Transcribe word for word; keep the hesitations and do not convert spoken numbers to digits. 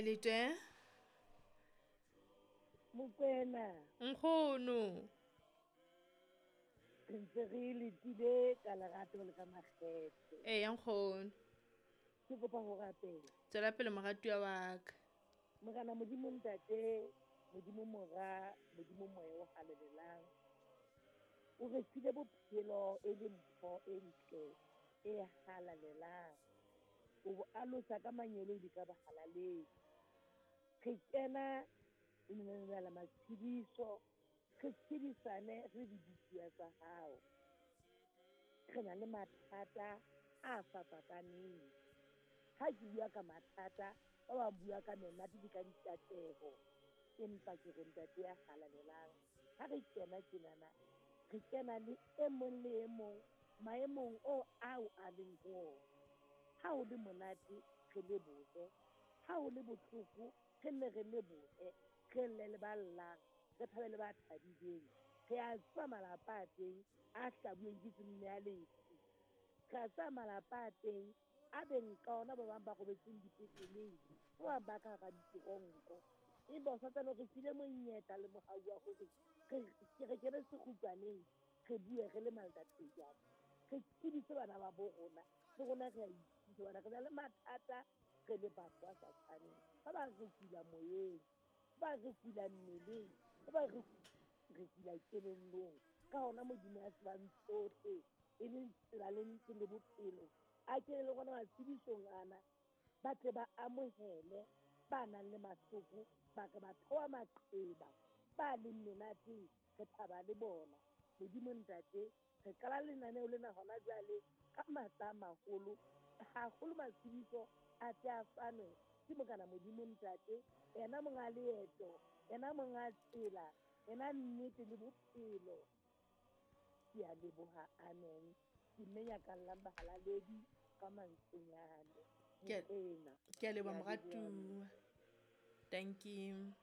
Letwe. Mokwena. Nkgono. Re ntse re letile ka lerato le ka makgethe. Eya nkgono. Ke kopa ho rapela. Tswela pele moratuwa wa ka. Morena Modimo Ntate, Modimo Mora, Modimo Moya o halalelang. O re file bophelo e le mpho e ntle e halalelang. O bo alosa ka manyeloi le ka bohalaleng. Re kena lenaneong la matshediso, re tshedisane re dibupuwa tsa hao. Re na le mathata a fapakaneng. Ha ke bua ka mathata, ba bang bua ka menate le ka dikatleho. Empa ke re Ntate ya halalelang, ha re kena tjenana, re kena le e mong le e mong maemong o ao a leng ho ona. Ha ho le monate, re lebohe. Ha ho le bohloko, re nne re lebohe. Re lle le ba llang, re thabe le ba thabileng. Re a tseba malapa a teng a hlabuweng ke tsemme ya lefu. Re a tseba malapa a teng a beng ka ona ba bang ba robetseng dipetleleng, ba bang ba ka hara diteronko. Empa o santsane o re file monyetla le mohau wa hore re re kene sekgutshwaneng, re bue re le maltathejana. Re tsebise bana ba bo rona, le rona re a ithuta hobane re na le mathata re le batho ba sa tshwaneng. Ba bang re kula moyeng, ba bang re kula mmeleng, ba bang re re kula kelellong. Ka hona Modimo ya tsebang tsohle, e leng tsela le nnete le bophelo, a kene le rona matshedisong ana, ba tle ba amohele ba nang le mahloko, ba ka ba theoha maqeba, ba leng menateng, re thaba le bona. Modimo Ntate, re qala lenaneo lena hona jwale ka matla a maholo, haholo matshediso a tle a fanwe ke Morena Modimo Ntate, yena monga leeto, yena monga tsela, yena nnete le bophelo. Ke a leboha, amen. Ke mme nyakallang bahalaledi ka mantswenyane. Ke Mokwena. ke a leboha Ke a leboha. moratuwa. Thank you.